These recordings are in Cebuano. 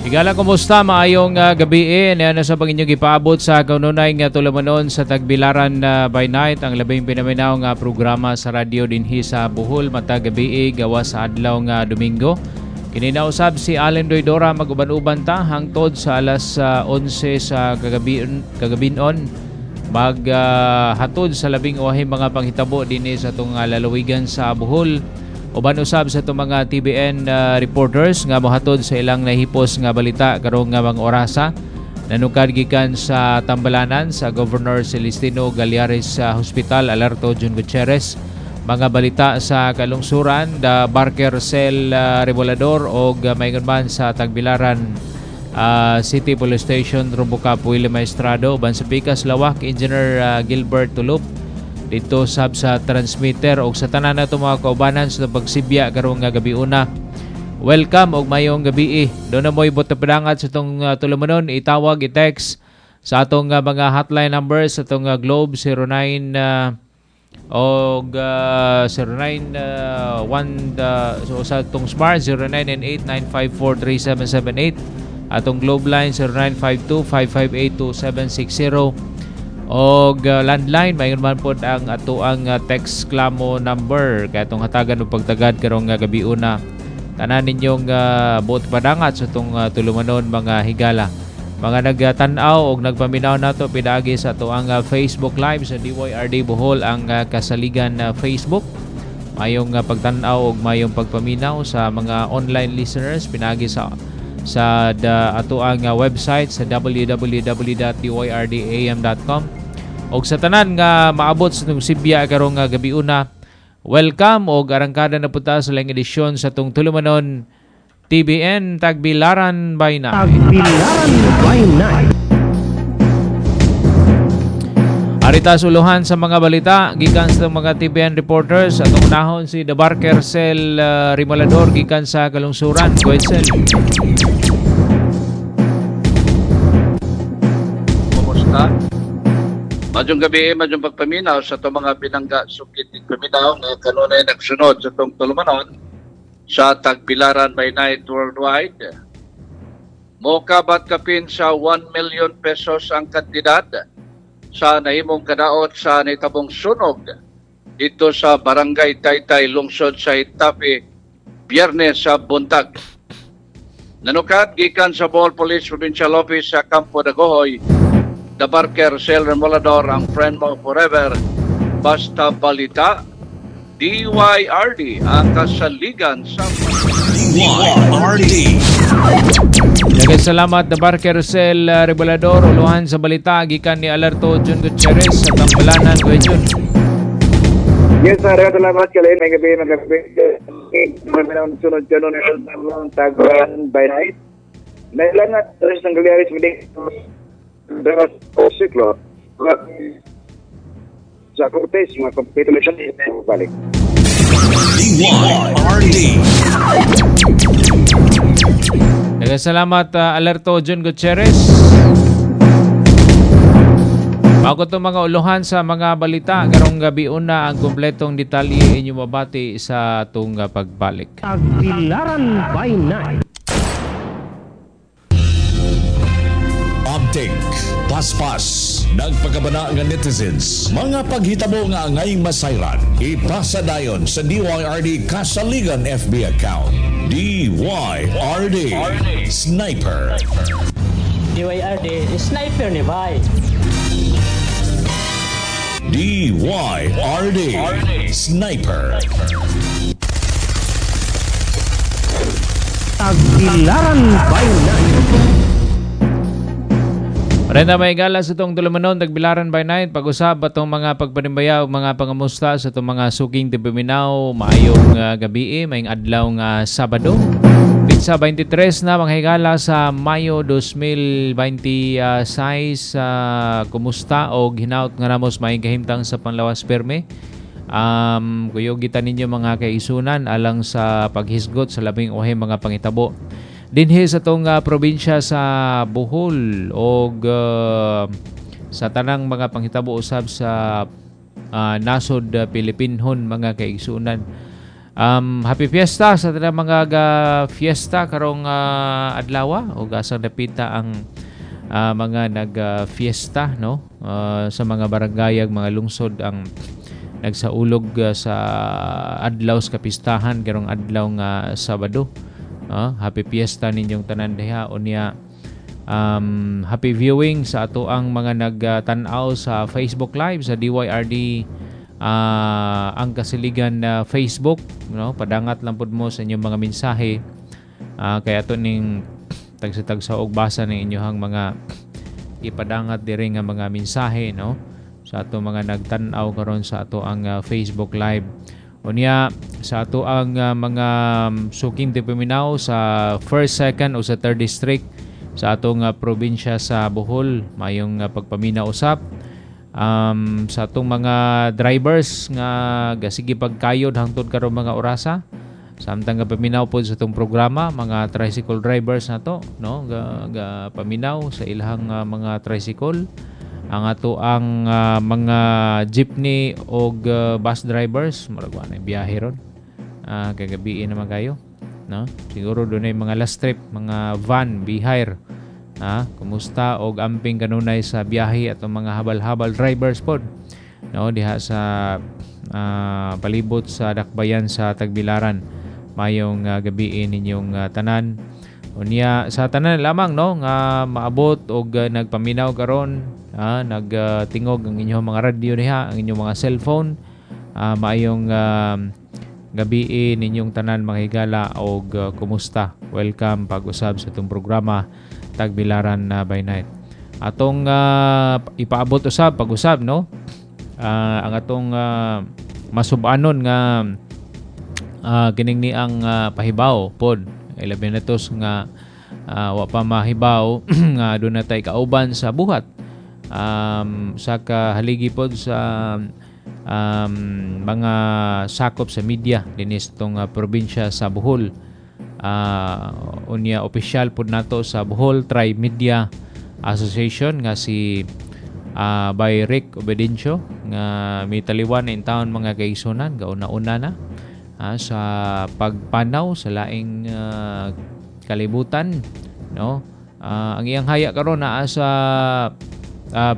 Higala, kumusta? Maayong gabi eh. Niya sa pag inyong gipaabot sa kanunay nga tulumanon sa Tagbilaran by Night, ang labing pinaminaw nga programa sa radyo dinhi sa Bohol matag gabi eh, gawa sa adlaw nga Domingo. Kini nausab si Allen Doydora, maguban-uban ta hangtod sa alas 11 sa kagabinon, mag hatod sa labing uwahi mga panghitabo dinhi sa atong lalawigan sa Bohol. Uban usab sa itong mga TBN reporters nga mohatod sa ilang nahipos nga balita karong nga mga orasa. Nanukad gikan sa Tambalanan sa Governor Celestino Gallares sa Hospital, Alerto John Gutierrez. Mga balita sa kalungsuran, the Barker Cell Revolador og maingon man sa Tagbilaran City Police Station, Robocop Willie Maestrado. Uban sa Pikas Lawak, Engineer Gilbert Tulup dito sab sa transmitter og sa tanan nato mga kaubanan sa pagsibya karong nga gabi una. Welcome og mayong gabi. Do na mo'y buot padangat sa itong tulumanon, itawag, i-text sa atong mga hotline numbers sa atong Globe 09 og 09 1 so sa atong Smart 0998-954-3778, atong Globe line 0952-558-2760 og landline. Mayon man pod ang atoang text klamo number kay atong hatagan og pagtagad karong gabi una tanan ninyong buot padangat sa atong tulumanon, mga higala. Mga nagtan-aw og nagpaminaw nato pinaagi sa atoang Facebook Live sa DYRD Bohol, ang kasaligan Facebook. Mayong pagtan-aw og mayong pagpaminaw sa mga online listeners pinaagi sa atoang website sa www.dyrdam.com. Og sa tanan nga maabot sa itong sibya karong gabi una, welcome og arangkada na punta sa laing edisyon sa itong tulumanon TBN Tagbilaran by Night. Tagbilaran by Night. Arita suluhan sa mga balita gikan sa mga TBN reporters. Atong unahon si The Barker Cell Rimalador gikan sa Kalungsuran. Go ahead, Sel. Kumusta? Madyong gabi, madyong pagpaminaw sa itong mga binangga sukit ng paminaw nga kanunay nagsunod sa itong tulumanon sa Tagbilaran by Night Worldwide. Mokabat kapin sa 1 million pesos ang kantidad sa nahimong kadaot sa nitabong sunog dito sa Barangay Taytay, lungsod sa Itapi, Biyernes sa buntag. Nanukad gikan sa Bohol Police Provincial Office sa Campo Dagohoy, The Barker Cell Remolador, ang friend mo forever, basta balita, DYRD ang kasaligan sa DYRD. Daghang salamat, The Barker Cell Remolador. Uluhan sa balita gikan ni Alerto John Gutierrez sa Tambalanan. Kuya Jun. Yes, sir. Salamat kalin. May gabi, magabi. May sunod kanon ng Tagbilaran by Night. Nailangan tres ng Gallares siklo sa Cortes, mga competition balik. DYRD. Daghang salamat, Alerto John Gutierrez. Bago itong mga uluhan sa mga balita karong gabi una, ang kompletong detalye inyo mabati sa atong pagbalik. Tagbilaran by Night. Update, paspas, nagpakabana nga netizens, mga paghitabo nga angay masayran, ipasa dayon sa DYRD Kasaligan FB account. DYRD Sniper. DYRD Sniper ni bay. DYRD Sniper. Tagbilaran by Night. Marenda may gala sa itong tulumanon, Tagbilaran by Night. Pag-usap atong mga pagpanimbaya o mga pangamusta sa itong mga suking tibiminaw. Maayong gabi, maayong adlaw nga Sabado. Pitsa 23 na mga higala sa Mayo 2026. Kumusta o hinaut nga namos maayong kahimtang sa panlawas perme. Kuyog kita ninyo mga kaisunan alang sa paghisgot sa labing uhay mga pangitabo dinhi sa atong probinsya sa Bohol og sa tanang mga panghitabo usab sa nasod Pilipinhon mga kaigsunan. Happy fiesta sa tanang mga ga fiesta karong adlaw o asang dapita ang mga nag fiesta, no, sa mga barangay, mga lungsod ang nagsaulog sa adlaw sa kapistahan karong adlaw nga Sabado. Happy fiesta ninyong tanan diha. Unya happy viewing sa ato ang mga nagtan-aw sa Facebook Live sa DYRD ang Kasiligan na Facebook, no. Padangat lang pud mo sa inyong mga mensahe kay ato ning tagsa-tagsa og basa ng inyong mga ipadangat diri nga mga mensahe, no, sa ato mga nagtan-aw karon sa ato ang Facebook Live. Unya sa ato ang mga suking tipaminaw sa first, second o sa third district sa atong probinsya sa Bohol, mayong pagpaminaw usab. Sa atong mga drivers nga gasige pagkayod hangtod karon mga orasa samtang gapaminaw pod sa atong programa, mga tricycle drivers nato, no, ga paminaw sa ilahang mga tricycle, ang ato ang mga jeepney og bus drivers, murag wa na biyahe ron, kagabii naman kayo, no, siguro dunay mga last trip, mga van bihire. Kumusta og amping kanunay sa biyahe atong mga habal-habal drivers pod, no, diha sa palibot sa dakbayan sa Tagbilaran. Mayong gabii ninyong tanan. Unya sa tanan lamang, no, nga maabot og nagpaminaw karon, nagtingog ang inyong mga radyo diha, ang inyong mga cellphone, maayong gabii ninyong tanan, mga higala, og kumusta. Welcome pag-usab sa itong programa Tagbilaran by Night. Atong ipaabot usab pag-usab, no, ang atong masubanon nga kining ni ang pahibaw pod, ilabi na to nga wa pa mahibaw nga doon na tay kauban sa buhat sa kahaligi pod sa mga sakop sa media dinhi sa atong probinsya sa Bohol. Unya opisyal pod nato sa Bohol Tri Media Association nga si by Rick Obedencio nga mitaliwan in town, mga kaigsunan, gauna-una na sa pagpanaw sa laing kalibutan, no. Ang iyang haya karon naa sa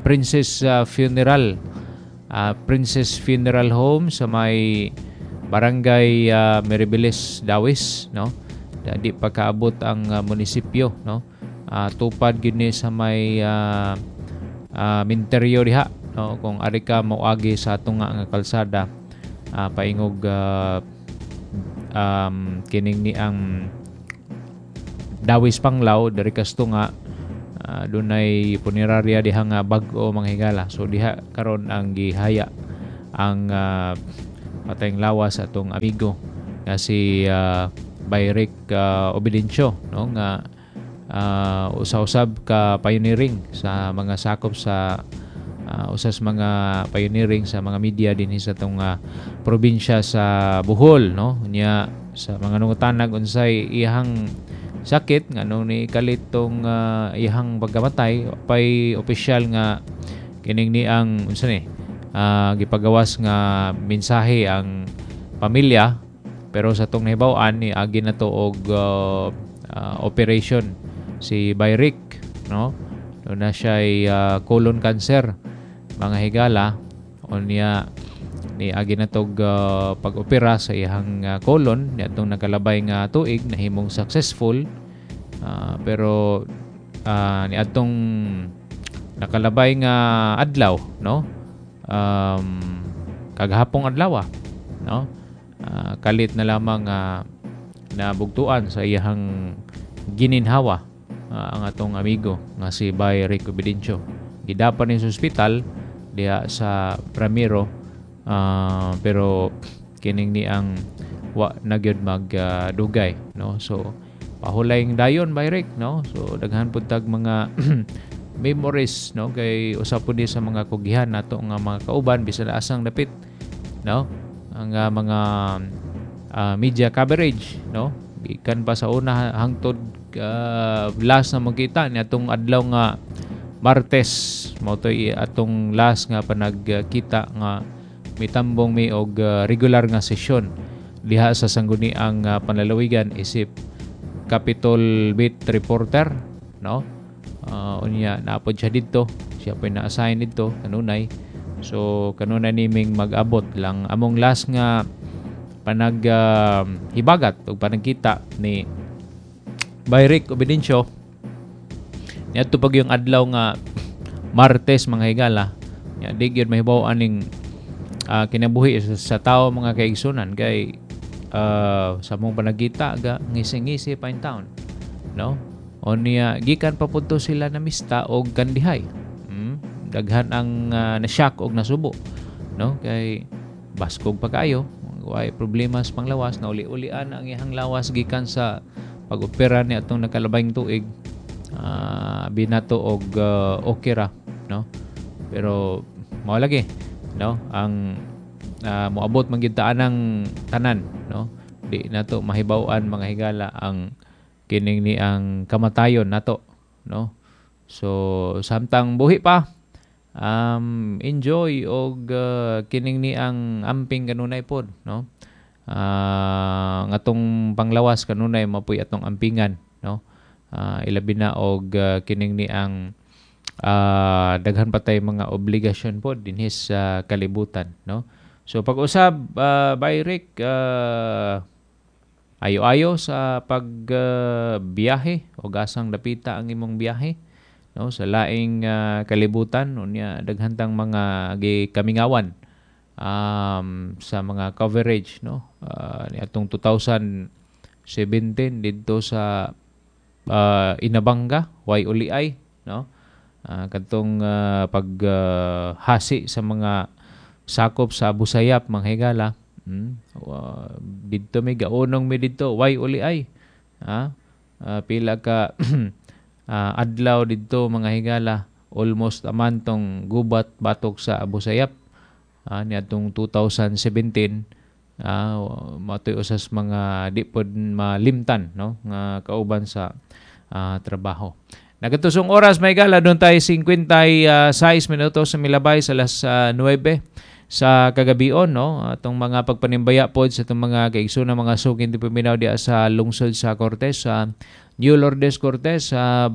Princess Funeral Home sa may Barangay Meribeles, Dawis, no. Di pa kaabot ang munisipyo, no. Tupad gid ni sa may minteryo diha, no, kung ari ka moagi sa tunga nga kalsada paingog kining ni ang Dawis Panglao diri kas tunga, dunay punerarya diha nga bag-o, mga higala. So diha karon ang gihaya ang patayng lawas atong amigo nga si Bayrick Obedencio, no, nga usa-usab ka pioneering sa mga sakop sa usas mga pioneering sa mga media dinhi sa atong probinsya sa Bohol, no. Nya sa mga nungutanag unsay iyang sakit, nganong ni kalit tong iyang pagkamatay, pay opisyal nga kining ni ang unsa ni gipagawas nga mensahe ang pamilya, pero sa atong nahibaw-an ni agi na to og operation si Bayrick, no. Doon na siya colon cancer, mga higala. Unya ni agi na tog pag-opera sa iyang colon niadtong nakalabay nga tuig, nahimong successful, pero niadtong nakalabay nga adlaw, no, kagahapong adlaw, no, kalit na lamang nabugtuan sa iyang gininhawa ang atong amigo nga si Bay Rick Obedencio. Gidapan ni sa ospital diha sa Ramiro, pero kining ni ang wa na gyud magdugay, no. So pahulayng dayon, Bay Rick, no. So daghan pud tag mga memories, no, kay usa pud ni sa mga kugihan nato nga mga kauban bisan asang dapit, no, ang mga media coverage, no, gikan pa sa una hangtod last na magkita ni atong adlaw nga Martes, mao toy atong last nga panagkita nga mitambong mi og regular nga sesyon diha sa Sangguniang Panlalawigan isip Capitol Beat reporter, no? Unya naapod siya didto, siya po na-assign didto kanunay. So kanunay niming mag-abot lang among last nga panag hibagat ug panagkita ni Bay Rick Obedencio niadto pag yung adlaw nga Martes, mga higala. Nya di gyud mahibaw aning kinabuhi sa tao, mga kaigsunan, kay sa mong panagkita ga ngisi-ngisi pa in town, no? O niya gikan pa pud to sila namista og kandihay. Daghan ang na-shock og nasubo, no? Kay baskog pa kayo, way problema sa panglawas, na uli-ulian ang iyang lawas gikan sa pag-opera ni atong nakalabayng tuig, binato og okay ra, no? Pero mao lagi, no, ang moabot man gyud ta anang tanan, no? Di nato mahibaw-an, mga higala, ang kining ni ang kamatayon nato, no? So samtang buhi pa, enjoy og kining ni ang amping kanunay pod, no? Ang atong panglawas kanunay mapuy atong ampingan, no? Ilabi na og kining ni ang daghan pa tay mga obligasyon pod dinhi sa kalibutan, no? So pag-usab, Bay Rick, ayo-ayo sa pag biyahe o gasang dapita ang imong biyahe, no, sa laing kalibutan. Unya daghan tang mga gikamingawan sa mga coverage, no, niadtong 2017 didto sa Inabanga, way uliay, no, kadtong pag hasi sa mga sakop sa Abu Sayyaf, mga higala. Didto mi gaunong mi didto, way uliay, pila ka adlaw didto, mga higala, almost aman tong gubat batok sa Abu Sayyaf niadtong 2017. Matoy usas mga di pod malimtan, no, nga kauban sa trabaho. Nagatusong oras, may gala, doon tayo 56 minutos sa milabay sa alas 9 sa kagabion, no? Atong mga pagpanimbaya pod sa itong mga kaigsoon, mga suking paminaw diya sa lungsod sa Cortes, sa New Lourdes Cortes, sa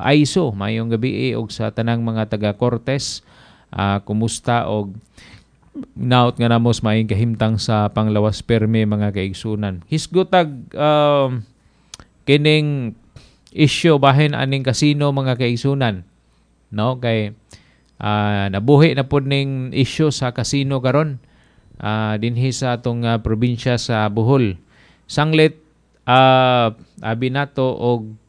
Aiso, mayong gabi og sa tanang mga taga Cortes, kumusta og naot nga namos maayong kahimtang sa panglawas perme, mga kaigsunan. Hisgutag kining issue bahin aning kasino, mga kaigsunan, no? Kay nabuhi na pod ning issue sa kasino karon dinhi sa atong probinsya sa Bohol. Sanglit abi nato og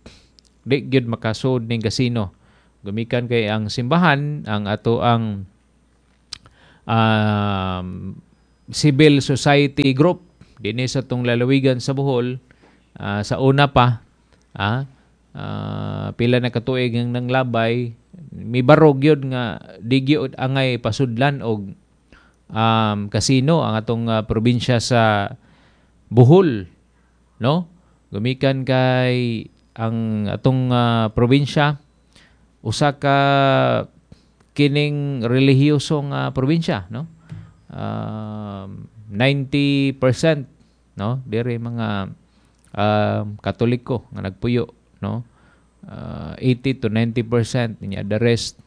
di gyud makasud ning kasino. Gumikan kay ang simbahan, ang ato ang civil society group dinhi sa atong lalawigan sa Bohol, sa una pa pila na katuig ang nanglabay, mibarog yun nga di gyud angay pasudlan og kasino ang atong probinsya sa Bohol, no? Gumikan kay ang atong probinsya usa ka kining relihiyoso nga probinsya, no? 90%, no, diri mga Katoliko nga nagpuyo, no? 80 to 90% niya, the rest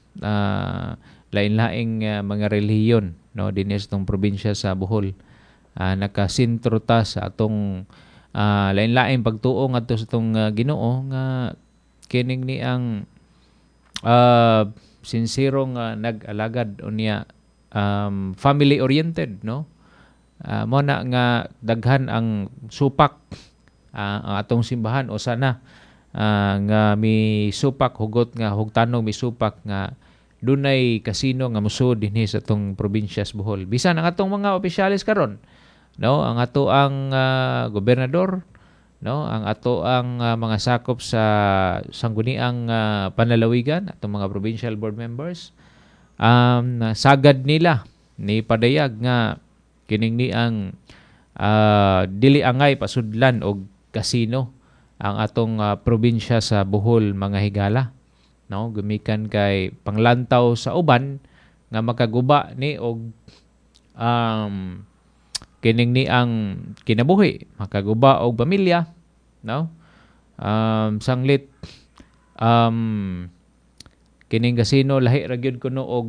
lain-laing mga relihiyon, no, dinhi sa atong probinsya sa Bohol. Nakasentro ta sa atong lain-laing pagtuo ngadto sa atong Ginoo nga kining ni ang sinsero nga nag-alagad unya family oriented, no? Mo na nga daghan ang supak ang atong simbahan o sana nga mi supak hugot nga hugtanong mi supak nga dunay kasino nga musud dinhi sa atong probinsya sa Bohol. Bisan ang atong mga opisyalis karon, no, ang ato ang gobernador, no, ang ato ang mga sakop sa sangguniang panlalawigan, atong mga provincial board members, sagad nila ni padayag nga kining ni ang dili angay pasudlan og kasino ang atong probinsya sa Bohol, mga higala, no? Gumikan kay panglantaw sa uban nga makaguba ni og kining ni ang kinabuhi, makaguba og pamilya, no? Sanglit kining kasino lahi ra gyud kuno og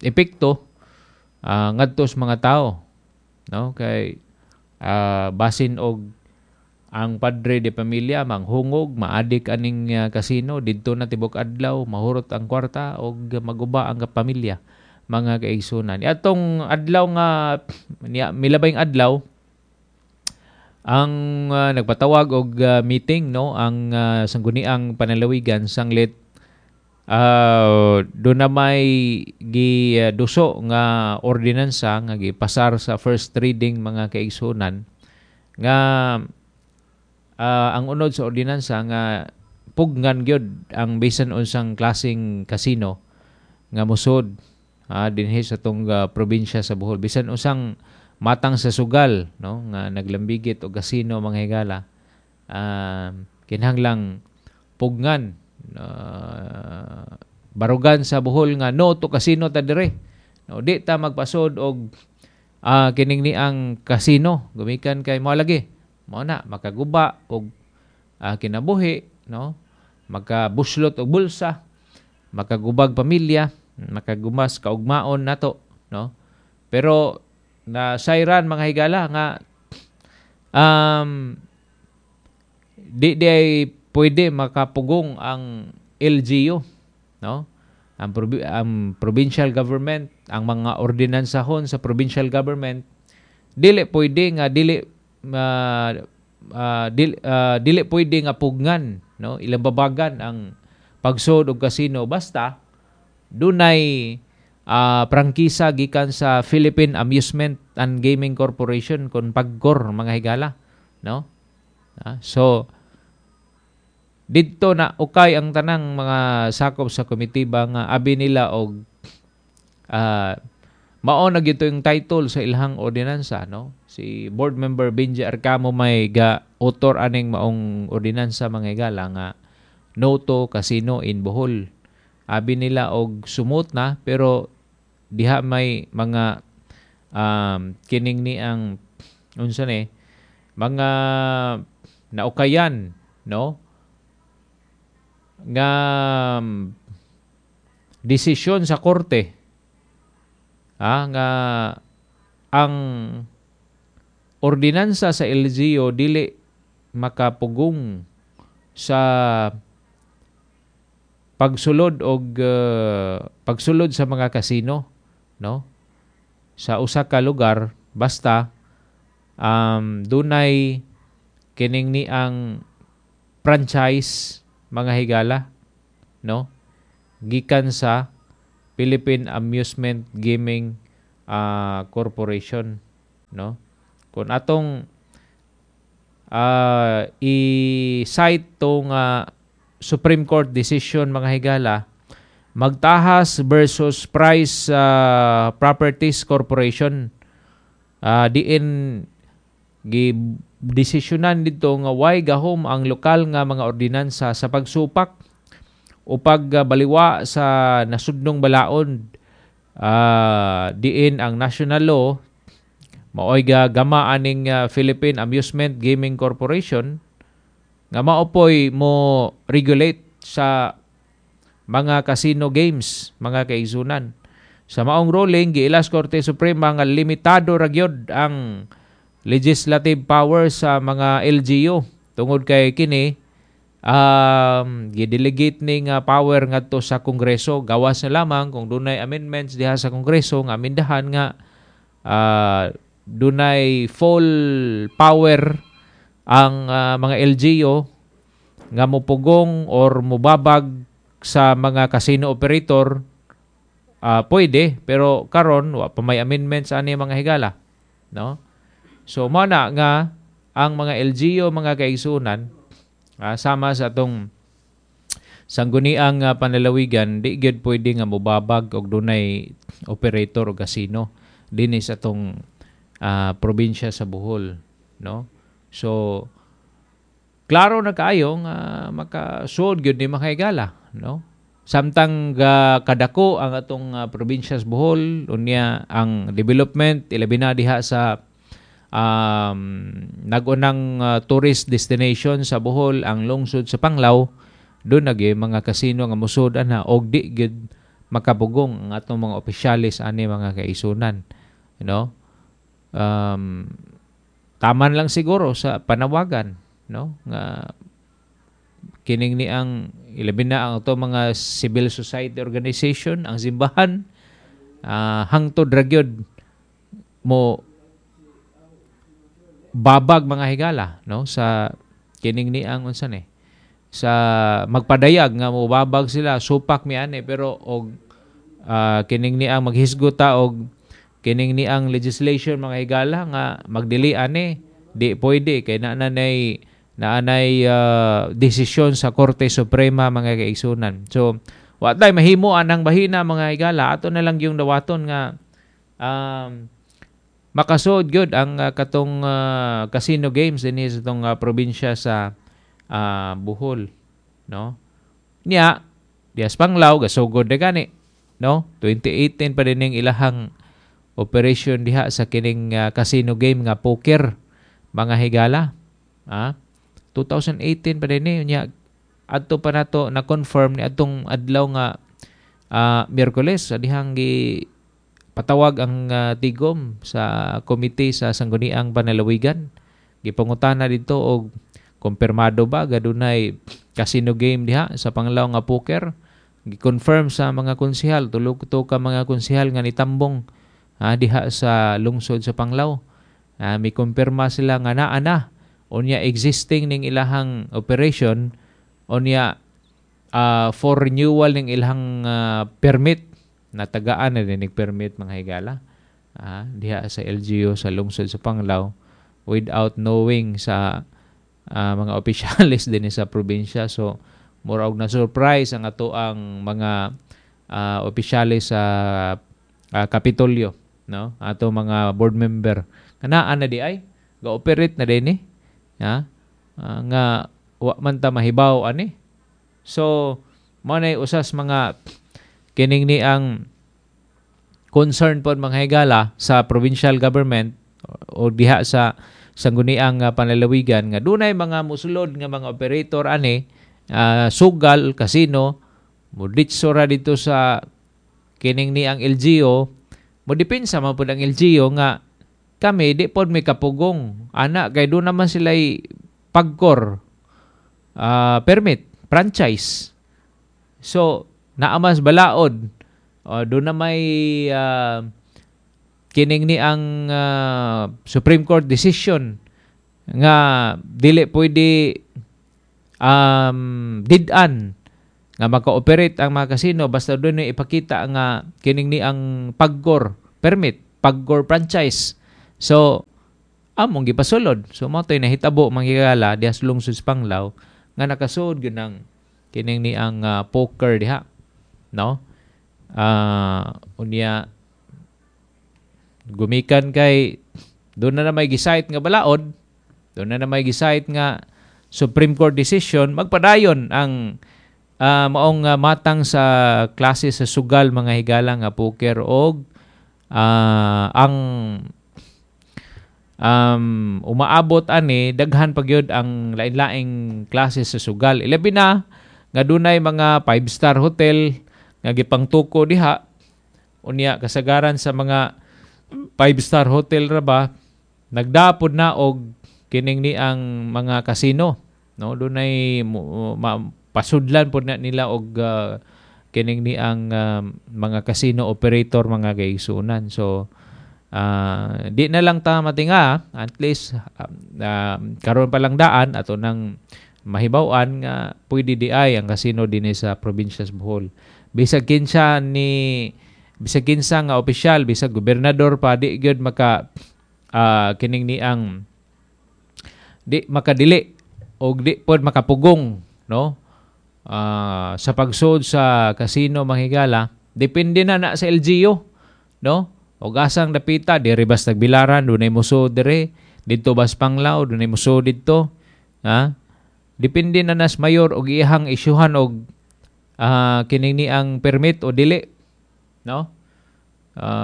epekto ngadto sa mga tao, no? Kay basin og ang padre de pamilya manghungog, maadik aning kasino didto na tibok adlaw, mahurot ang kwarta og maguba ang pamilya, mga kaigsunan. Atong adlaw nga milabayng adlaw ang nagpatawag og meeting, no, ang sangguniang panlalawigan sanglit do na may giduso nga ordinansa nga gipasar sa first reading, mga kaigsunan, nga ang unod sa ordinansa nga pugnan gyud ang bisan unsang klaseng kasino nga musod dinhi sa tong probinsya sa Bohol, bisan unsang matang sa sugal, no, nga naglambigit og kasino, mga higala, kinahanglang pugnan, barugan sa Bohol nga no to casino ta dire, no, di ta magpasod og kining ni ang kasino gumikan kay mao lagi mao na makaguba og kinabuhi, no, makabuslot og bulsa, makagubag pamilya, makagumas kaugmaon nato, no? Pero na sayran, mga higala, nga di di ay pwede makapugong ang LGU, no, ang provincial government, ang mga ordinansahon sa provincial government, dili pwede nga dili dili, dili pwede nga pugnan, no, ilang babagan ang pagsod og kasino basta dunay prangkisa gikan sa Philippine Amusement and Gaming Corporation kon PAGCOR, mga higala, no? So didto na ukay ang tanang mga sakop sa komitiba nga abi nila og mao na gyud yung title sa ilahang ordinansa, no? Si board member Benji Arcamo may ga author aning maong ordinansa, mga higala, nga no to casino in Bohol. Abi nila og sumot na, pero diha may mga kining ni ang unsa ni mga naukayan, no, nga desisyon sa korte nga ang ordinansa sa LGU dili makapugong sa pagsulod og pagsulod sa mga kasino, no, sa usa ka lugar basta dunay kining ni ang franchise, mga higala, no, gikan sa Philippine Amusement Gaming Corporation, no? Kung atong i-cite tong Supreme Court decision, mga higala, Magtajas versus Price Properties Corporation, diin gi desisyonan dito nga way gahom ang lokal nga mga ordinansa sa pagsupak o pagbaliwa sa nasudnong balaod, diin ang national law maoy gama aning Philippine Amusement Gaming Corporation nga maopoy mo regulate sa mga casino games, mga kaigsunan. Sa maong ruling, giilas Korte Suprema nga limitado ra gyud ang legislative power sa mga LGU tungod kay kini gidelegate ni nga power ngadto sa Kongreso. Gawas na lamang kung dunay amendments diha sa Kongreso nga amindahan nga dunay full power ang mga LGU nga mupugong or mubabag sa mga casino operator, pwede, pero karon wa pa may amendments ani, mga higala, no? So mao na nga ang mga LGU, mga kaigsunan, sama sa atong sangguniang panlalawigan, di gyud pwede nga mobabag og dunay operator o casino dinhi sa atong probinsya sa Bohol, no? So klaro na kaayo nga makasuod gyud ni mga higala, no? Samtang kadako ang atong probinsya sa Bohol, unya ang development ilabi na diha sa nagunang tourist destination sa Bohol, ang lungsod sa Panglao, doon na gyud mga kasino nga musod ana og di gyud makapugong ang atong mga opisyalis ani, mga kaisunan, no? Taman lang siguro sa panawagan, no, nga kining ni ang ilabi na ang ato mga civil society organization, ang simbahan, hangtod ra gyud mo babag, mga higala, no, sa kining ni ang unsa ni sa magpadayag nga mo babag sila, supak mi ani. Pero og kining ni ang maghisgot ta og kining ni ang legislation, mga higala, nga magdili ani, di pwede kay naanay desisyon sa Korte Suprema, mga kaigsunan. So wa tay mahimo anang bahina, mga higala. Ato na lang yung dawaton nga makasuod gyud ang katong casino games dinhi sa itong probinsya sa Bohol, no? Nya dias Panglao gasugod na gani, no? 2018 pa din ning ilahang operation diha sa kining casino game nga poker, mga higala. 2018 pa din ni. Nya adto pa nato na confirm ni atong adlaw nga Miyerkules sa dihang gi patawag ang tigom sa komite sa Sangguniang Panlalawigan. Gipangutana didto og kumpirmado ba gadunay casino game diha sa Panglao nga poker. Gi-confirm sa mga konsehal, tulo to ka mga konsehal nga nitambong diha sa lungsod sa Panglao. Mi kumpirma sila nga naa na, unya existing ning ilahang operation, unya for renewal ning ilahang permit. Natagaan na din permit, mga higala, diha sa LGU sa lungsod sa Panglao without knowing sa mga opisyalis din sa probinsya. So mura og na surprise ang ato ang mga opisyalis sa Kapitolyo, no, ato mga board member nga naa na di ay ga-operate na din ni ha, nga wa man ta mahibaw ani. So mao nay usas mga kining ni ang concern pod, mga higala, sa provincial government o diha sa Sangguniang Panlalawigan nga dunay mga musulod nga mga operator ani, sugal, casino, moditso ra dito sa kining ni ang LGU. Mo depensa man pud ang LGU nga kami di pod may kapugong ana kay doon naman sila PAGCOR permit, franchise. So naamas balaod, doon na may kining ni ang Supreme Court decision nga dili pwede did-an nga maka-operate ang mga kasino basta doon na ipakita nga kining ni ang PAGCOR permit, PAGCOR franchise. So among gipasulod. So mao to'y nahitabo, mga higala, diha sa lungsod sa Panglao nga nakasuod gyud ang kining ni ang poker diha, no? Unya gumikan kay doon na may gi-cite nga balaod, doon na may gi-cite nga Supreme Court decision, magpadayon ang maong matang sa klase sa sugal, mga higala, nga poker og ang umaabot ani daghan pa gyud ang lain-laing klase sa sugal, ilabi na nga dunay mga 5-star hotel nga gipangtuko diha. Unya kasagaran sa mga 5-star hotel ra ba nagdapod na og kining ni ang mga kasino, no? Dunay pasudlan pod na nila og kining ni ang mga casino operator, mga kaigsuonan. So di na lang ta matinga. At least karon pa lang daan ato nang mahibaw-an nga pwede di ay ang casino dinhi sa probinsya sa Bohol. Bisag kinsa ni, bisag kinsa nga opisyal, bisag gobernador pa, di gyud maka kining ni ang di makadili og di pod makapugong, no, sa pagsud sa casino, mga higala. Depende na na sa LGU, no, og asang dapita. Diri bas Tagbilaran dunay musod dire, didto bas Panglao dunay musod didto, ha? Depende na nas mayor og iyahang isyuhan og Kining ni ang permit o dili, no?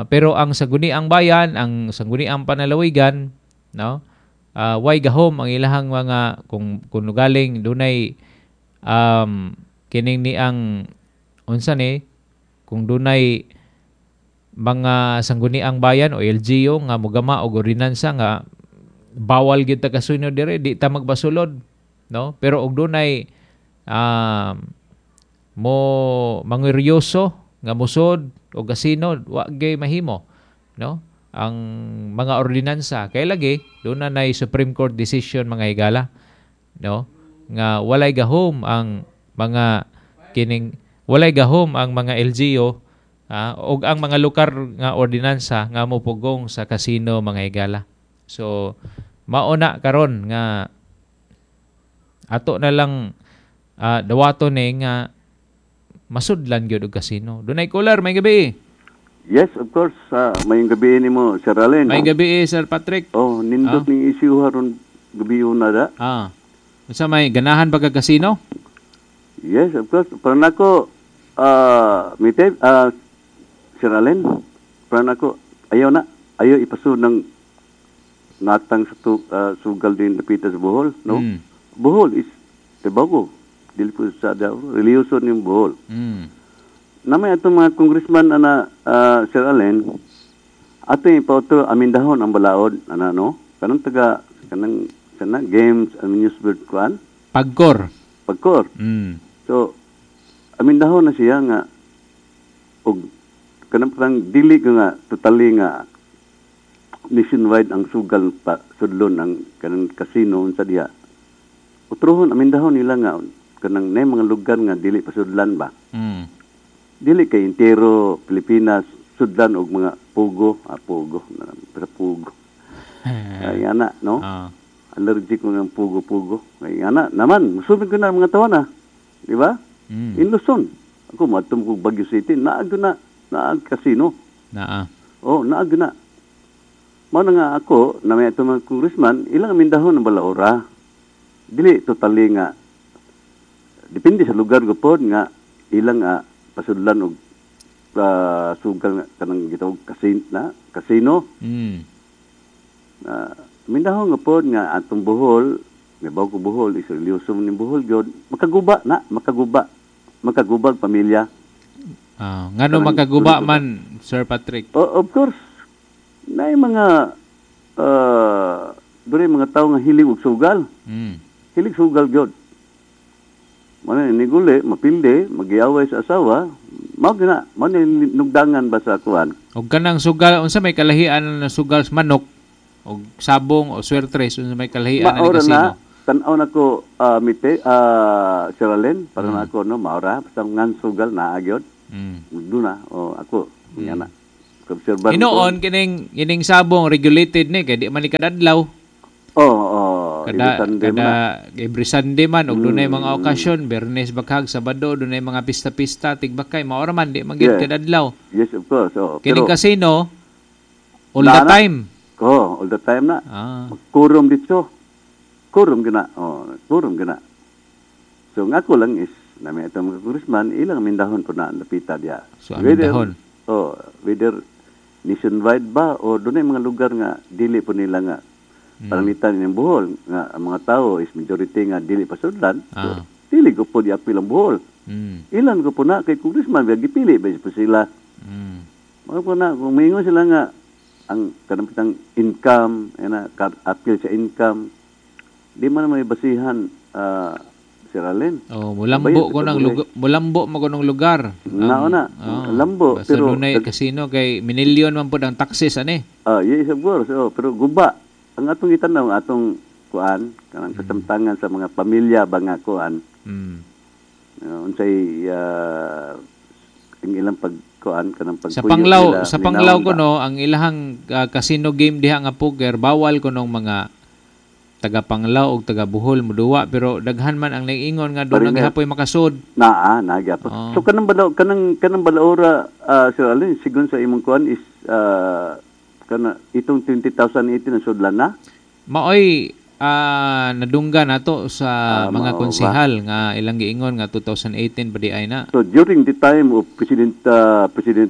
Pero ang Sangguniang Bayan, ang Sangguniang Panalawigan, no? Way gahom ang ilahang mga kung galing dunay kining ni ang unsa ni kung dunay mga Sangguniang Bayan o LGU nga mogama og ordinansa nga bawal gyud ta kasino dire, di ta magbasulod, no? Pero og dunay mo manguryoso nga musod o kasino, wa gyud mahimo, no? Ang mga ordinansa kay lagi doon na nay Supreme Court decision, mga higala, no? Nga walay gahom ang mga kining walay gahom ang mga LGU og ang mga lokal nga ordinansa nga mopugong sa kasino, mga higala. So mao na karon nga ato na lang dawaton ni nga masudlan gyud og kasino. Dunay caller, may gabi. Yes, of course. Mayong gabi nimo, Sir Allen. May gabi, Sir Patrick. Oh, nindot ning issue haron gabi una da. Unsa may ganahan ba ka kasino? Yes, of course. Para nako mite Sir Allen, para nako ayaw na, ayaw ipasud ng natang sa sugal din napita sa Bohol, no? Bohol is Tabago. Dili po sa religyoso ning Bohol. Namay atong mga congressman ana Sir Allen, ato ipauto amindahon ang balaod ana, no? Kanang taga kanang sana games amusement kuan Pagkor. So amindahon na siya nga og kanang parang dili nga totally nga nationwide ang sugal pa sudlon ang kanang casino unsa diha. Utrohon amindahon nila nga kanang nay mga lugar nga dili pasudlan ba. Dili kay entero Pilipinas sudlan og mga pugo, pugo, pero pugo. Ay ana, no? Allergic ko ng pugo-pugo. Ay ana naman, musulod ko na mga tawo na. Di ba? In Luzon. Ako matum ko Baguio City, naag na, naag casino. Naa. Oh, naag na. Mao na nga ako, na may atong mga congressman, ilang amindahon ang balaora. Dili totally nga depende sa lugar gupod nga ilang pasudlan og sugal kanang gitawag kasino. Mindahon nga pod nga atong Bohol, may bago ko Bohol is religyoso ning Bohol gyud, makaguba na, makaguba. Makagubag pamilya. Ngano makaguba man, Sir Patrick? Oh, of course. Naay mga dure mga tawo nga hilig og sugal. Hilig sugal gyud. Mana ni guli, mapildi, magyaway sa asawa, mao gina, mao ni nugdangan ba sa kuan. Og kanang sugal, unsa may kalahian na sugal sa manok og sabong o swertres, unsa may kalahian na kasino? Na, tan-aw nako mite Sir Allen, para na ako no maora, basta ngan sugal naa gyud. Duna o ako nga na. Obserban ko. Kining sabong regulated ni kay di man ni kadadlaw. Oh, kada every Sunday man og dunay mga okasyon, Biyernes, Bakhag, Sabado, dunay mga pista-pista, tigbakay, maora man di man gyud kadadlaw. Yes, of course. Oh, kining casino all the time. Oh, all the time na. Kurum dito. Kurum gina. Oh, kurum gina. So nga ko lang is na may atong mga congressman, ilang amindahon po na napita diya. So amindahon. Oh, whether nationwide ba o dunay mga lugar nga dili po nila nga paramitan ng Bohol nga ang mga tao is majority nga dili pasudlan. So, dili ko po di apil ang Bohol. Ilan ko po na kay congressman ba gipili ba po sila. Mga po na kung maingon sila nga ang kanang income ana apil sa income di man may basihan Sir Allen. Oh, mulambo ko ng lugar, mulambo man ko ng lugar. Nao na. Lambo pero dunay casino kay minilyon man pud ang taxes ani. Yes, of course. Oh, pero guba ang atong itanaw atong kuan kanang kasamtangan sa mga pamilya ba nga kuan. Unsay ang ilang pagkuan kanang pagpuyo sa Panglao, sa Panglao kuno ang ilahang casino game diha nga poker bawal kunong mga taga Panglao og taga Bohol moduwa pero daghan man ang naiingon nga doon naghapoy makasud. Naa, naa gyapon. So kanang balaw kanang balaora Sir Allen sigon sa imong kuan is kana itong 20,018 ang sudlan na. Maoy Nadungga nato sa mga mao ba? Konsehal nga ilang giingon nga 2018 pa di ay na. So during the time of President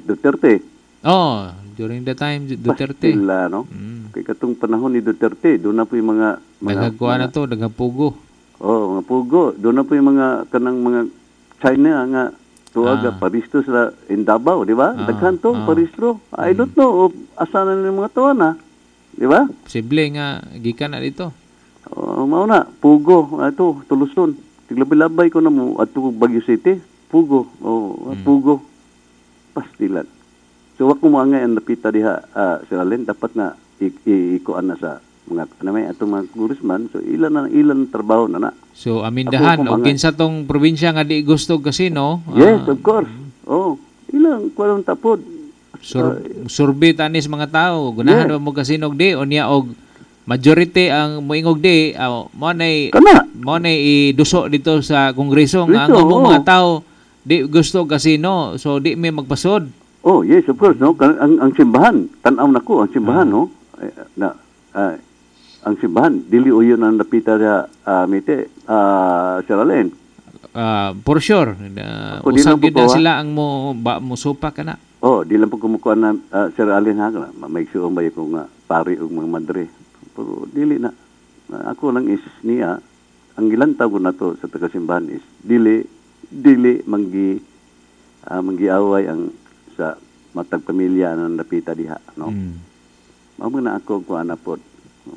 Duterte, Oh, during the time Duterte. Pastila, no? Kay katong panahon ni Duterte, doon na po yung mga Daghang kuha na to, daghang pugo. Oh, mga pugo. Doon na po yung mga kanang mga China nga tuwag paristo sila in Davao, di ba? Daghan to, paristro. I don't know asa na yung mga tuwa na. Di ba? Posible nga gikan na dito. Oh, mao na, pugo, ato, tuluson. Tiglabi-labay ko na mo adto Baguio City, pugo. Oh, pugo. Pastilan. So wa ko moangay ang napita diha, Sir Allen, dapat na ikuan na sa mga ano may atong mga congressman, so ilan na ilan trabaho na na. So amindahan Ako og kumangay. kinsa tong probinsya nga di gusto og kasino, Yes, of course. Oh, ilang kuan tapod. Survey tanis mga tao, gunahan ba mo kasino og di unya og majority ang moingog di, mo nay Kana. mo nay iduso dito sa kongreso nga ang Dito, among oo. mga tao di gusto og kasino, so di mi magpasod. Oh, yes, of course, no. Ang simbahan, tan-aw nako ang simbahan, no. Eh, na ang simbahan dili uyon ang napita sa mite, Sir Allen. For sure. Ako, di Usab lang po gyud na ko, ah. sila ang mo ba mo supa kana. Oh, di lang po kumukuha na Sir Allen ha, may suong ba ko nga pari ug mga madre. Pero dili na. Ako lang is niya ang gilantaw ko nato sa taga-simbahan is dili dili manggiaway ang sa matag pamilya ang napita diha, no. Mao man na ako kuan na pod.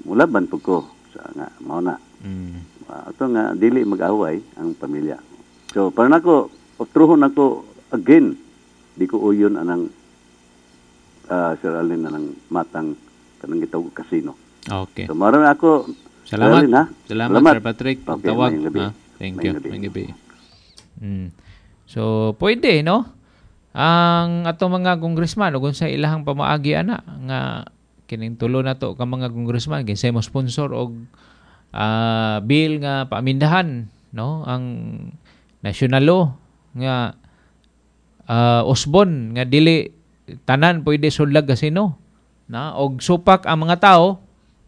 Mulaban po ko sa nga mao na. Ato nga dili mag-away ang pamilya. So para nako truhon nako again, di ko uyon anang Sir Allen anang matang kanang gitawag kasino. Okay. So mao na ako. Sir Salamat. Allen, ha? Salamat, Sir Patrick. Okay, Tawag. maayong gabi. Ha? Thank you. Maayong gabi. Maayong gabi. So, pwede, no? Ang atong mga congressman ug unsa ilahang pamaagi ana nga kining tulo na to ka mga congressman, kinsay mo sponsor og bill nga paamindahan, no, ang national law nga usbon nga dili tanan pwede sudlag kasino na og supak ang mga tao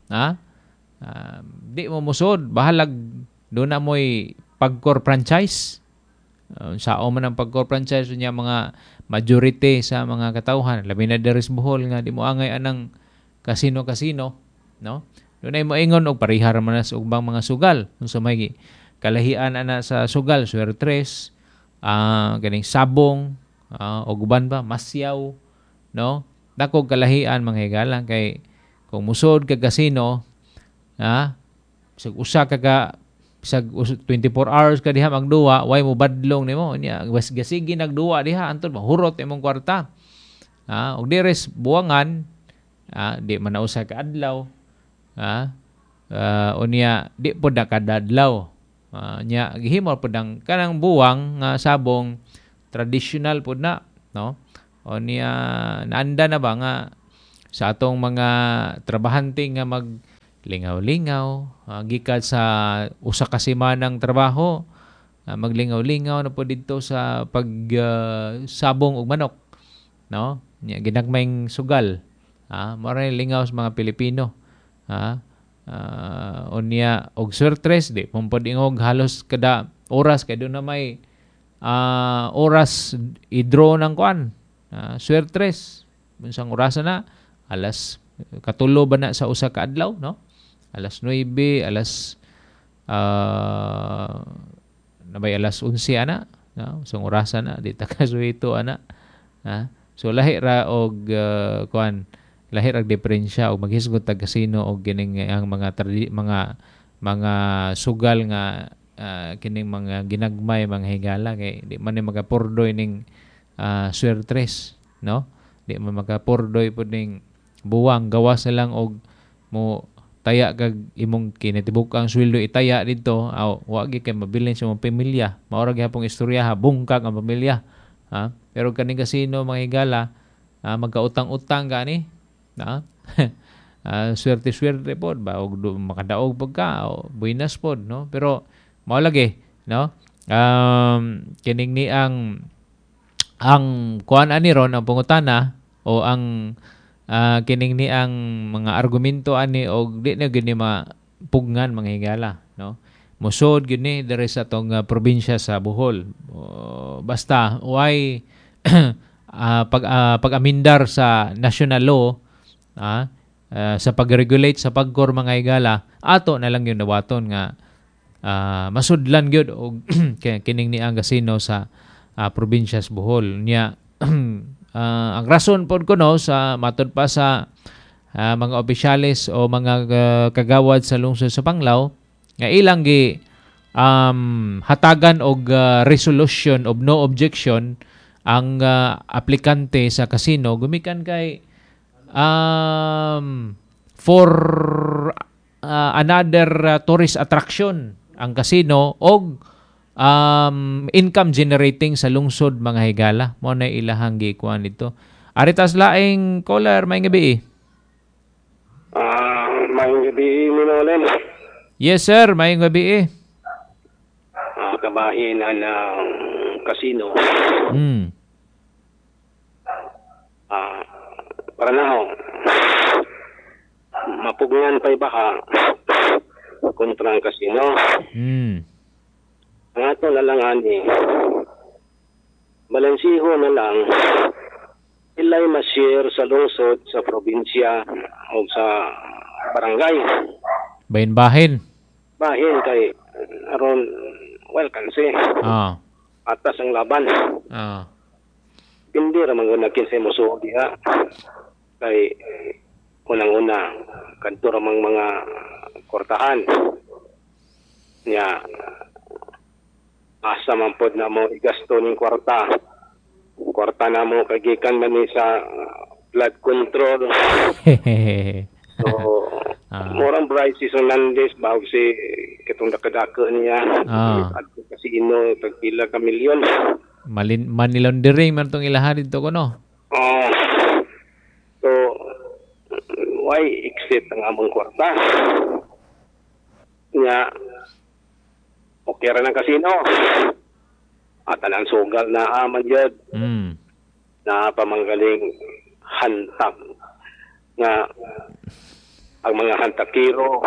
na di mo musod, bahalag doon na mo'y pagkor franchise. Sao man ang pagkor franchise niya, mga majority sa mga katawhan labi na diri sa Bohol nga di mo angay anang kasino-kasino, no? Doon ay moingon og parihar man na sa ubang mga sugal, unsa may kalahian ana sa sugal, swertres, ganing sabong, og uban pa masyaw, no? Dako kalahian, mga higala, kay kung musod ka kasino, bisag usa ka ka bisag 24 hours ka diha magduwa, way mo badlong nimo nya, was gasigi nagduwa diha antud mahurot imong kwarta. Og dires buwangan, di man na usa ka adlaw, unya di pod na kadadlaw. Nya gihimo pod ang kanang buwang nga sabong traditional pod na, no? Unya naanda na ba nga sa atong mga trabahante nga mag lingaw-lingaw, gikan sa usa ka semanang trabaho, maglingaw-lingaw na po didto sa pag sabong og manok, no? Nya ginagmayng sugal. Mao ra lingaw sa mga Pilipino. Unya og swertres di pud ingog halos kada oras kay doon na may oras i-draw ng kuan. Swertres unsang orasa na, alas 3 ba na sa usa ka adlaw, no? Alas 9, alas nabay alas 11 ana, no? Usang orasa na di ta kasuhito ana. So lahi ra og kuan, lahi ra diferensya og maghisgot tag kasino og kining ang mga mga sugal nga kining mga ginagmay, mga higala, kay di man ni makapurdoy ning swertres, no? Di man makapurdoy pud ning buwang, gawas na lang og mo taya kag imong kinatibuk ang sweldo itaya didto, aw wa gyud kay mabilin sa imong pamilya. Mao ra gihapong istorya ha, bungkag ang pamilya. Pero kaning kasino, mga higala, magkautang-utang gani, na swerte-swerte pod ba og makadaog pag ka o buenas pod, no? Pero mao lagi, no? Kining ni ang kuan ani ron ang pangutana o ang kining ni ang mga argumento ani og di na gyud ni Pugngan mga higala, no? Musod gyud ni diri sa atong probinsya sa Bohol. Basta way pag-amindar sa national law sa pag-regulate sa pagkor mga higala, ato na lang yung dawaton nga masudlan gyud og kining ni ang kasino sa probinsya sa Bohol. Nya ang rason pod kuno sa matod pa sa mga opisyales o mga kagawad sa lungsod sa Panglao nga ilang gi hatagan og resolution of no objection ang aplikante sa kasino gumikan kay for another tourist attraction ang kasino og income generating sa lungsod mga higala. Mo na ilahang gikuan dito. Aritas laing caller, may gabi. May gabi Minolen. Yes sir, may gabi. Kabahin ang kasino. Para na ho. Mapugngan pa'y baka kontra ang kasino. Ang ato na lang ani, balansiho na lang ilay ma-share sa lungsod, sa probinsya o sa barangay. Bahin-bahin. Bahin kay aron well kansi. Atas ang laban. Hindi ra man gud kinsay mosuo diha. Kay unang-una kadto ra mang mga kortahan. Nya asa man pod na mo igasto ning kwarta. Kwarta na mo kagikan man ni sa flood control. So, murang Bryce Hernandez bago si katong dakadako niya. At kasino tagpila ka milyon. Money laundering man tong ilaha dito kuno. So why exit ang among kwarta? Nya okay ra ng kasino. At anang sugal na aman yun. Na pamanggaling hantak nga ang mga hantakiro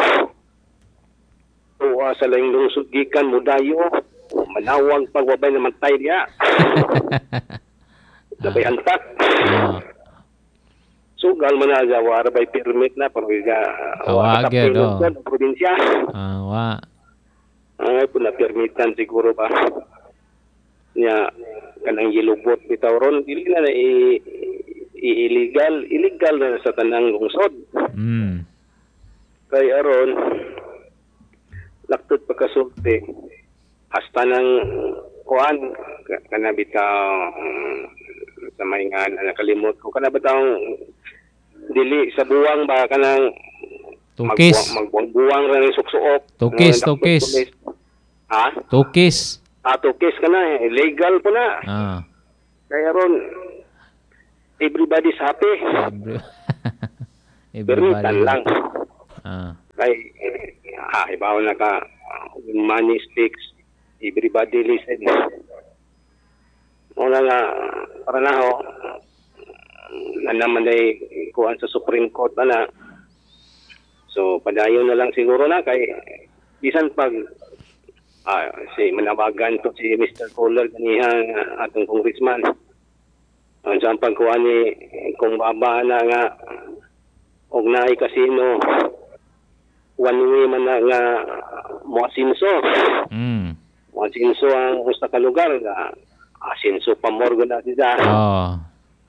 tuwa sa laing lungsod gikan mudayo manawag pagwabay na mantay niya. Labay hantak. Sugal man na wara by permit na pero wag do probinsya. Wa. Ay po na permitan siguro ba. Nya kanang yelubot bitaw ron dili na illegal, illegal na sa tanang lungsod. Kay aron laktod pagkasulti hasta nang kuan kana bitaw sa may nga nakalimot ko kana bitaw dili sa buwang ba kanang tukis magbuwang ra ni suksuok. Tukis, tukis. Ha? Tukis. Tukis ka na, illegal po na. Kaya ron, everybody's happy. Everybody. Lang. Kay, ibaw na ka, money speaks, everybody listen. Una nga, para na ho, na naman ay kuhan sa Supreme Court na na. So, padayon na lang siguro na, kay, bisan pag, si manawagan to si Mr. Kohler kaniha atong congressman. Ang sa pagkuha ni kung baba na nga og naay kasino one way man na nga moasinso. Moasinso ang usa ka lugar nga asinso pa more gud na siya.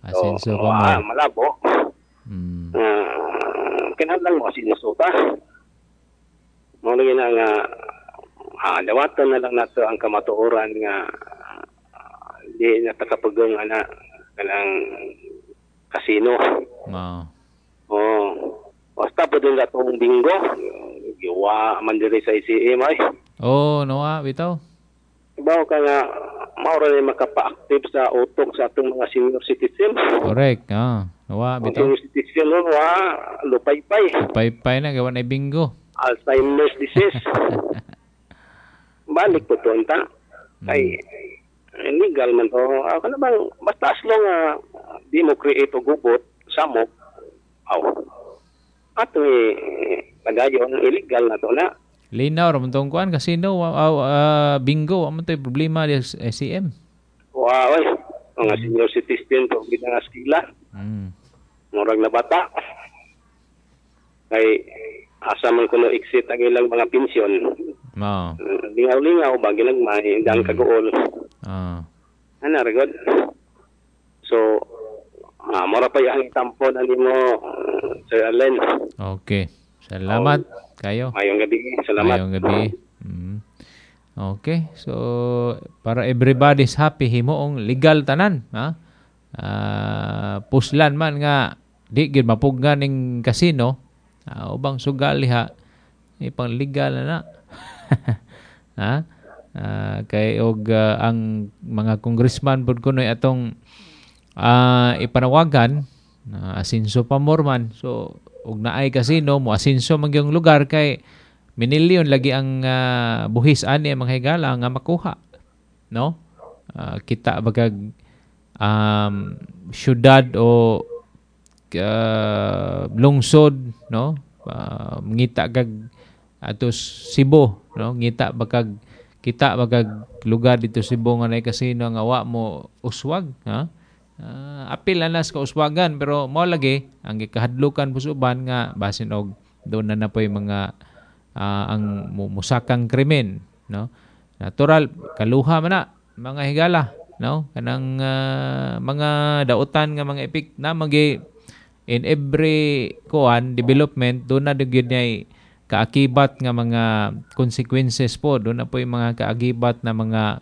Asinso pa more. Malabo. Kinahanglan moasinso ta. Mao lagi na nga dawatan na lang nato ang kamatuoran nga di na takapagong ana kanang kasino. Basta po din atong bingo. Giwa man diri sa ICM ay. Noa bitaw. Ibaw ka nga mao ra ni makapa-active sa utok sa atong mga senior citizen. Correct. Noa bitaw. Senior citizen no wa lupaypay. Lupaypay na gawa na bingo. Alzheimer's disease. Balik po to ta. Kay illegal man to. Kana bang basta as long di mo create og gubot samok aw ato Padayon illegal na to na. Linaw ra man tong kuan casino, bingo, wa man to'y problema di SCM. Wow, oy. Mga senior citizen to gid nga skila. Murag na bata. Kay asa man kuno exit ang ilang mga pensyon. Mao. Lingaw-lingaw ba ginagmay dang kaguol. Ana ra gud. So mora pa yang tampo na nimo, Sir Allen. Okay. Salamat kayo. Mayong gabi. Salamat. Mayong gabi. Okay. So para everybody's happy, himuong legal tanan, ha? Puslan man nga di gid mapugnan ning kasino, ubang sugal liha ipang legal na na. Ha? Kay og ang mga congressman pud kunoy atong ipanawagan na asinso pa more man. So og naay kasino mo asinso man gyung lugar kay minilyon lagi ang buhis ani ang mga higala nga makuha, no? Kita bagag syudad o lungsod, no? Ngita kag ato Cebu, no? Ngita bagag kita bagag lugar dito Cebu nga naay kasino nga wa mo uswag, ha? Apil na sa kauswagan pero mao lagi ang gikahadlukan po sa uban nga basin og doon na po'y mga ang musakang krimen, no? Natural kaluha man na mga higala, no? Kanang mga dautan nga mga epek na magi in every kuan development doon na gyud nay kaakibat nga mga consequences po, doon na po'y mga kaakibat na mga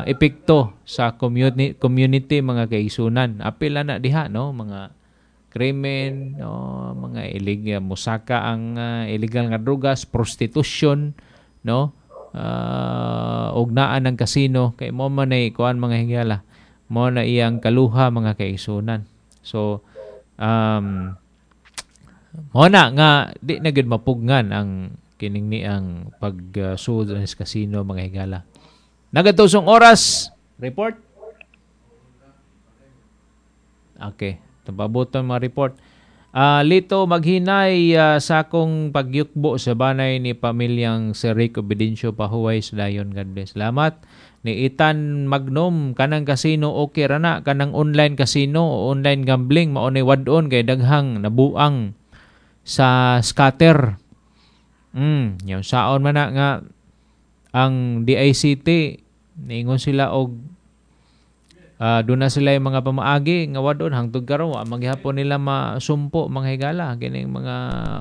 epekto sa community mga kaisunan. Apil na diha, no, mga krimen, no, mga illegal musaka ang illegal nga drugas, prostitution, no, og naa ng kasino kay mo man ay kuan mga higala, mo na iyang kaluha mga kaisunan. So mo na nga di na gyud mapugnan ang kining ni ang pagsud sa kasino mga higala. Nagatusong oras, report. Okay, tapabuton mga report. Lito maghinay sa akong pagyukbo sa banay ni pamilyang si Rico Bedencio Pahuway sa Dayon. God bless. Salamat. Ni Itan Magnum, kanang kasino okay ra na, kanang online casino o online gambling mao ni wad-on kay daghang nabuang sa scatter. Yung saon man na nga ang DICT niingon sila og doon na sila yung mga pamaagi nga wadon hangtod karon wa maghapon nila masumpo mga higala kining mga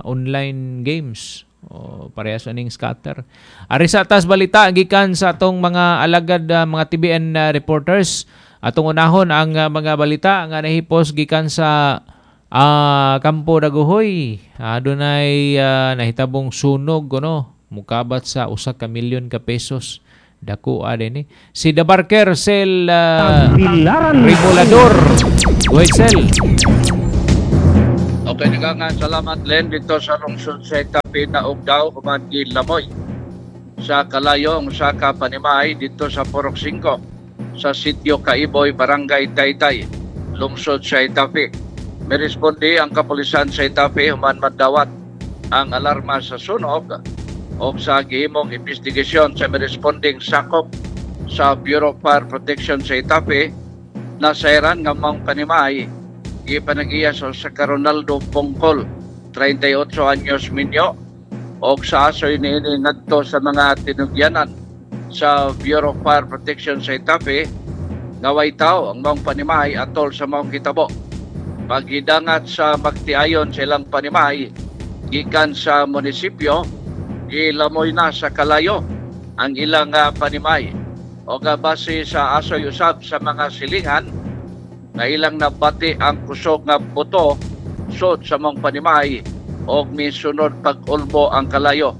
online games o parehas aning scatter. Ari sa tas balita gikan sa atong mga alagad mga TBN reporters. Atong unahon ang mga balita nga nahipos gikan sa Kampo Dagohoy. Adunay nahitabong sunog no, mukabat sa 1 ka milyon ka pesos. Dako din ni si Dabarker Sel Regulador. Go ahead, Sel. Okay, nga salamat Len dito sa lungsod sa Itapi na og daw human gilamoy sa kalayong sa Kapanimay dito sa Purok 5 sa sitio Kaiboy, Barangay Taytay, lungsod sa Itapi. Miresponde ang kapulisan sa Itapi human madawat ang alarma sa sunog o sa gihimong investigasyon sa miresponding sakop sa Bureau of Fire Protection sa Itapi na sayran nga maong panimay gipanagiya sa Ronaldo Pongkol, 38 anyos minyo, og sa asoy niini ngadto sa mga tinugyanan sa Bureau of Fire Protection sa Itapi nga way tawo ang maong panimay atol sa maong kitabo. Paghidangat sa magtiayon sa ilang panimay gikan sa munisipyo, gilamoy na sa kalayo ang ilang panimay. O base sa asoy usab sa mga silingan na ilang nabati ang kusog nga buto sod sa mong panimay og misunod pag-ulbo ang kalayo.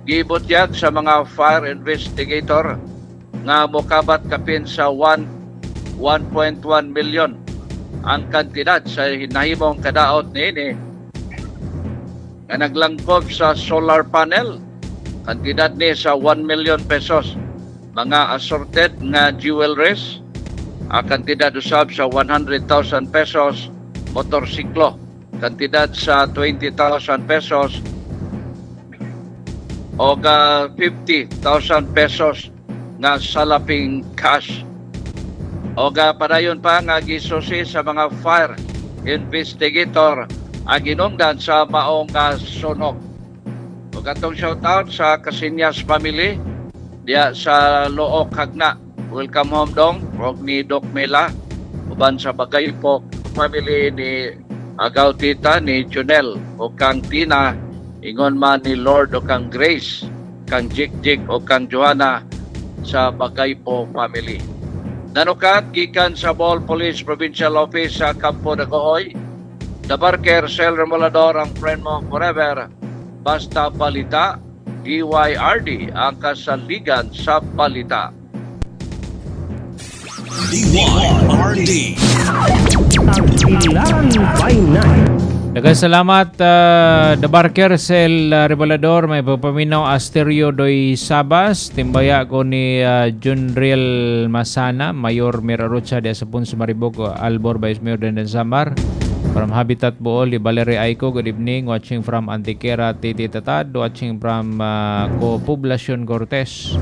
Gibutyag sa mga fire investigator nga mokabat kapin sa 1.1 million ang kantidad sa nahimong kadaot niini nga naglangkob sa solar panel, kantidad ni sa 1 million pesos, mga assorted nga jewelries, kantidad usab sa 100,000 pesos, motorsiklo, kantidad sa 20,000 pesos, og 50,000 pesos nga salaping cash. Og padayon pa nga gisusi sa mga fire investigator ang ginungdan sa maong sunog. Ug atong shout out sa Casinas family diya sa Looc, Jagna. Welcome home dong og ni Doc Mela, uban sa Bagaypok family ni Agaw Tita ni Junel o kang Tina, ingon man ni Lord o kang Grace, kang Jik Jik o kang Joanna sa Bagaypo family. Nanukat gikan sa Bohol Police Provincial Office sa Campo de Gohoy, The Barker Sel Remolador, ang friend mo forever. Basta balita, DYRD ang kasaligan sa balita. DYRD. Tagbilaran by night. Daghang salamat, The Barker Sel Remolador. May pagpaminaw Asterio Doy Sabas, timbaya ko ni Junriel Masana, Mayor Mirarocha de sa Punso Mariboc, Albor Vice Mayor Denden Samar. From Habitat Bool, Valerie Aiko, good evening. Watching from Antiquera, Titi Tatad. Watching from Poblacion Cortes.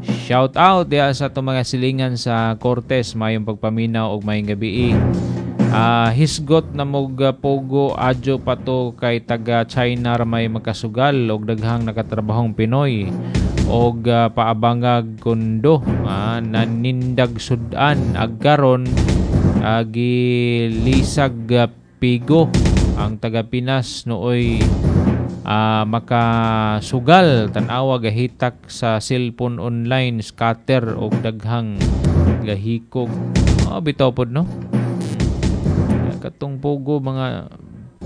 Shout out diya sa itong mga silingan sa Cortes. Mayong pagpaminaw og mayong gabi. Hisgot na mog pogo adyo pa to kay taga China ra may makasugal og daghang nakatrabahong Pinoy og paabangag kondo, nanindag sudan agkaron gilisag pigo ang taga Pinas nooy makasugal. Tan-awa gahitak sa cellphone online scatter og daghang gahikog. Bitaw pod no. Katong pogo, mga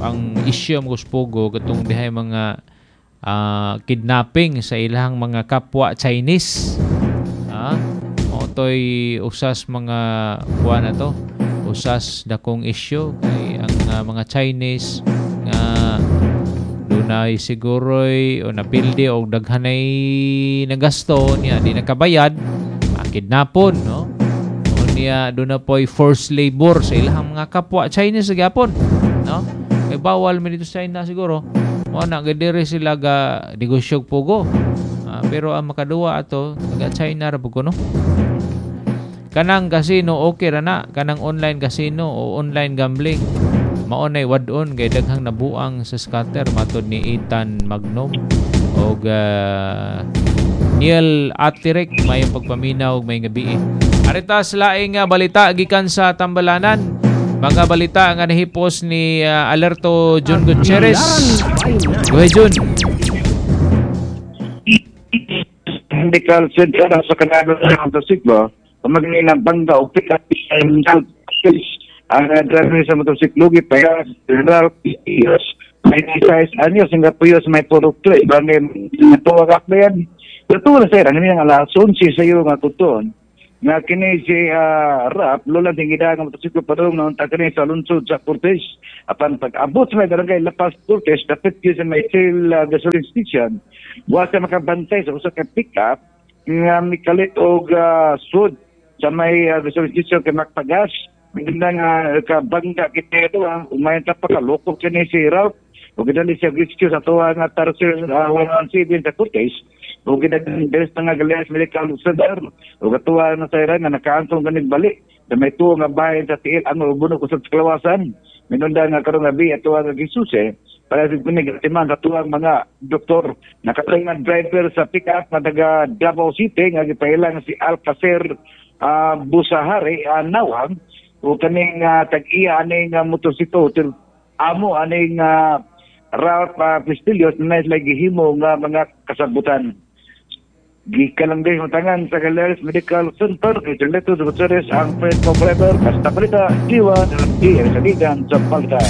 ang issue mo sa pogo katong dihay mga kidnapping sa ilang mga kapwa Chinese. Otoy usas mga kuan na to, usas dakong issue kay ang mga Chinese nga dunay siguroy o napildi og daghanay nagasto niya di nakabayad, kidnapon no. Niya doon na po'y forced labor sa ilang mga kapwa Chinese gyapon no, kay bawal man dito sa China siguro mo na gadiri sila ga negosyo pogo, pero ang makaduwa ato taga China ra pud no. Kanang casino okay ra na, kanang online casino o online gambling mao nay wad-on kay daghang nabuang sa scatter matod ni Ethan Magnum og Neil Atirek. Mayong pagpaminaw ug mayong gabi. Arita sa laing balita gikan sa Tambalanan. Mga balita nga nahipos ni Alerto Jun Gutierrez. Go ahead, Jun. Medical Center sa Kanada sa motorsiklo, pamagninang bangga o pick-up ang driver sa motorsiklo gipaya General Piyos may size anyo Singapore may produkto ibang tuwag akbayan. Pero na sir, ano yung alas 11 sa iyo nga tuton nga kini si Rap lola tingida nga motorsiklo padung naunta kini sa lungsod sa Cortes. Apan pag-abot sa may barangay Lapas Cortes, dapit gyud sa may Shell gasoline station, wa sa makabantay sa usa ka pick-up nga mikalit og sud sa may gasoline station kay magpagas. Bigla nga kabangga kita ito, umayon ta pa kaloko kini si Ralph ug gidali siya rescue sa tuwa nga Tarsier 117 sa Cortes ug gidali sa nga Galeas Medical Center ug atuwa na sa nga nakaantong ganig bali sa may tuo nga bahin sa tiil ang ubuno kusog sa kalawasan. Minunda nga karong gabi atuwa nga gisuse para sa kunig timan sa tuwang mga doktor. Nakatay nga driver sa pick-up nga taga Davao City nga gipailang si Alcacer Busahari Nawang o kaning tag-iya aning motorsiklo amo aning Ralph Pistillos na sila gihimo nga mga kasabutan. Gikan lang din tangan sa Galeras Medical Center kay Leto Gutierrez ang friend mo forever. Basta balita, diwa di saligan sa balita.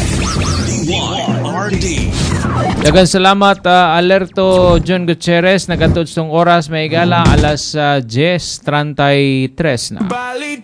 DYRD. Daghang salamat Alerto John Gutierrez. Nagatod sa oras may gala alas 10:33 na. Balita.